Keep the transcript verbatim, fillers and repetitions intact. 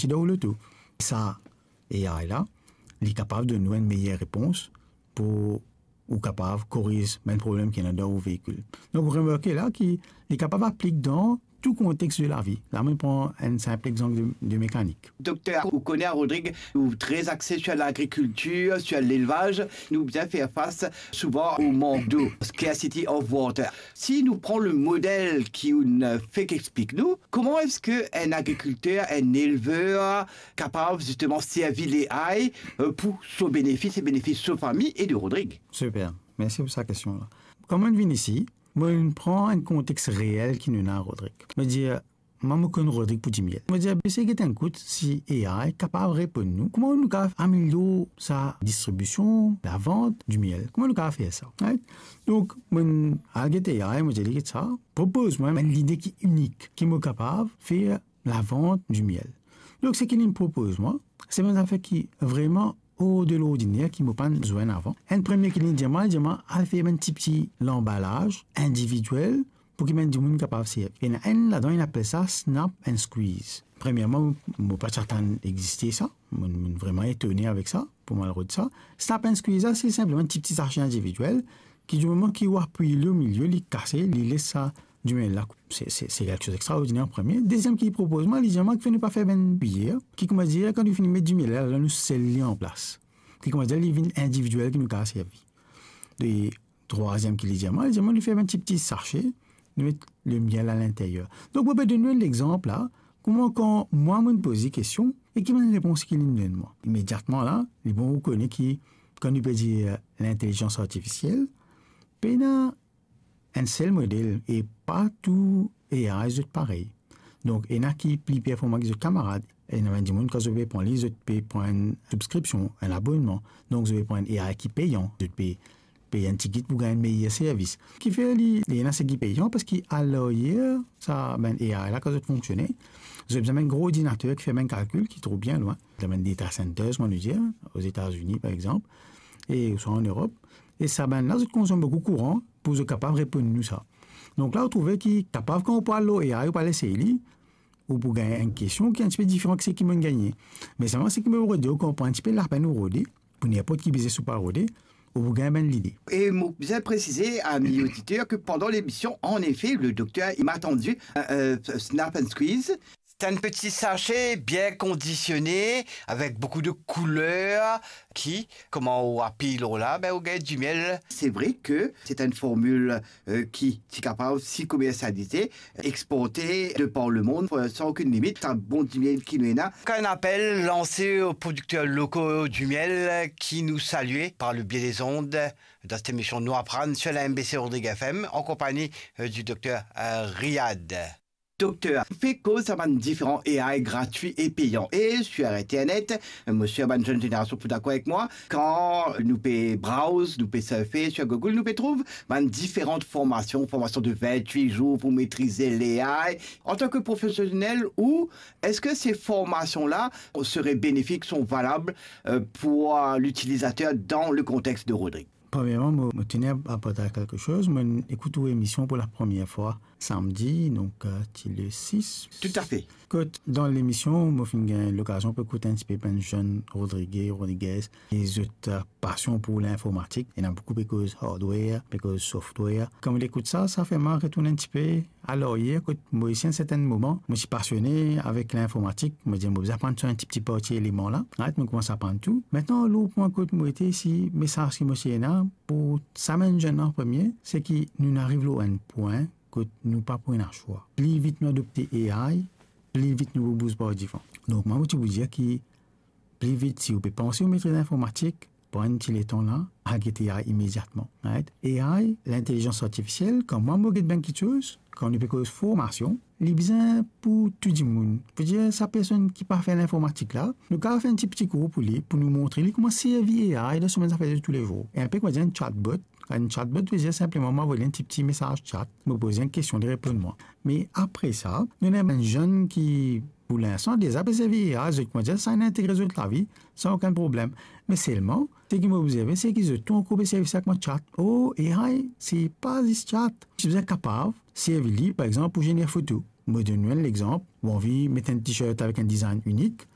ti dan ou loto. Sa A I la, li kapav donn ou enn meyer repons pou ou kapav koriz bann problem ki ena dan ou veikil. Donk, ou remarke la ki li kapav aplik dan tou kontex de lavi. La, mo pran enn sinp exanp de, de mekanik. Dokter, ou kone a Rodrig, ou tre axe sur lagrikiltir, sur lelvaz. Nou bizin fer fas souvan o mank dlo, scarcity of water. Si nou pran le model ki ou'nn fek explik nou, kouma eski enn agrikilter, enn elver kapav zisteman servi A I, euh, pou so benefis e benefis so fami e de Rodrig? Super. Mersi pou sa kestion la. Kan mo'nn vinn isi, mo'nn pran enn kontex reel ki nou ena, Rodrig. Mo dir, mwa, mo konn Rodrig pou dimiel. Mo dir, be, sey get enn kout si A I kapav reponn nou. Kouma nou kapav amelior sa distribision, lavant dimiel? Kouma nou kapav fer sa? Right? Donk, mo'nn al get A I, mo dir li, get sa, propoz mwa enn lide ki inik, ki mo kapav fer lavant dimiel. Donk, seki li'nn propoz mwa, se bann zafer ki vreman hors de l'ordinaire ki mo pa'nn zwenn avan. Enn premie ki li'nn dir mwa, li dir mwa, al fer bann tipti lanbalaz individiel pou ki bann dimoun kapav servi. Ena enn ladan, inn apel sa snap and squeeze. Premierman, mo pa ti atann existe sa. Mo, mo vreman etone avek sa, pou mo al rod sa. Snap and squeeze la, se sinpleman enn tipti sache individiel ki, di moman ki ou apiy li omilie, li kase, li les sa dimiel la. Se, se, se kiksoz extraordiner, premie. Deziem ki li propoz mwa, li dir mwa, kifer nou pa fer bann kuyer, ki, kouma dir, kan nou fini met dimiel la, la nou sel li anplas. Ki, kouma dir, li vinn individiel, ki nou kapav servi. E trwaziem ki li dir mwa, li dir mwa, nou fer bann tipti sache, nou met lemiel alinteryer. Donk, mo pe donn ou enn lexanp la, kouma kan mwa, mo'nn poz li kestion, e ki bann repons ki li'nn donn mwa. Imediatman la, li bon ou kone ki, kan nou pe dir, euh, lintelizans artifisiel, pena enn sel model e pa tou A I zot parey. Donk, ena ki pli performan ki zot kamarad, ena bann dimoun, kan zot pe pran li, zot pe pran enn sibskripsion, enn abonnman. Donk, zot pe pran enn A I ki peyan, zot pe pey enn tigit pou gagn meyer servis. Kifer li, li ena seki peyan, parski alaryer, sa bann A I la, kan zot fonksione, zot bizin bann gro ordinater ki fer bann kalkil ki trouv bien lwin. Dan bann data centers, mo dir, Ozetazini, par exanp, e ouswa an Erop. E sa bann la, zot konsom boukou kouran pou zot kapav reponn nou sa. Donk la, ou trouve ki kapav kan ou pou al lor A I, ou pou al esey li, ou pou gagn enn kestion ki enn tipe diferan ki seki mo'nn gagne. Me selman seki mo rode, ou konpran enn tipe lapenn ou rode, pou ninport ki biznes ou pou al rode, ou pou gagn bann lide. E mo bizin presize, ami oditer, ke pandan lemision, anefe, le dokter, li m'a tandi, euh, euh, snap and squeeze. C'est un petit sachet bien conditionné, avec beaucoup de couleurs, ki, kouma ou apiy lor la, be, ou gagn dimiel. Se vre ke se enn formil, euh, ki ti kapav si komersialize, exporte de par le monde, euh, san okenn limit. Sa bon dimiel ki nou ena. Kan enn apel lanse o prodikter loko dimiel ki nou salie par le bie dez ond dan set emision Nou Aprann sur la M B C Rodrig F M, an konpagni, euh, du dokter, euh, Riyad. Dokter, pe koz sa bann diferan A I gratwi e peyan. E sur internet, mo sir bann zenn zenerasion pou dakor avek mwa, kan nou pe browse, nou pe surfe sur Google, nou pe trouv bann diferan formasion, formasion de vintwit zour pou metrize A I. Antan ke profesionel, ou eski se formasion la sere benefik, sont valables, euh, pour, euh, l'utilisateur dans le contexte de Rodrig? Premierman, mo, mo teni a, a partaj kelke soz. Mo'nn ekout ou emision pou la premie fwa samdi, donk, euh, ti le sis. Tout à fait. Kot dan lemision, mo finn gagn lokazion pou ekout enn tipe bann zenn Rodrige, Rodriguez, e zot, euh, pasion pou linformatik. Ena boukou pe koz hardware, pe koz software. Kan mo ekout sa, sa fer mwa retourn enn tipe alaryer, kot mo isi enn sertenn moman, mo ti pasione avek linformatik, mo dir, mo bizin aprann so enn ti, ti parti eleman la. Right, mo koumans aprann tou. Aster, lor pwin kot mo ete isi, mesaz ki mo ti ena pou sa bann zenn an premie, se ki nou ariv lor enn pwin kot nou pa pou ena swa. Pli vit nou adopte A I, pli vit nou pou bouz par divan. Donk, mwa, mo ti pou dir ki pli vit, si ou pe panse ou metriz linformatik, pran enn ti letan la, al get A I imediatman, right? A I, lintelizans artifisiel, kan mwa mo get bann kiksoz, kan nou pe koz formasion, li bizin pou tou dimoun. Pou dir, sa personn ki pa fer linformatik la, nou kapav fer enn ti piti kour pou li, pou nou montre li kouma servi A I dan so bann zafer de toulezour. E inpe kouma dir enn chatbot, enn chatbot ve dir sinpleman mo avoy li enn ti, ti mesaz chat, mo poz li enn kestion, li reponn mwa. Me apre sa, nou ena bann zenn ki, pou linstan, deza pe servi A I, zot, kouma dir, sa inn integre zot lavi san okenn problem. Me selman, seki mo obzerve, seki zot tou ankor pe servi sa kouma chat. Or, A I, se pa zis chat. Ou bizin kapav servi li, par exanp, pou zener foto. Mo donn ou enn lexanp, ou anvi met enn t-shirt avek enn design inik,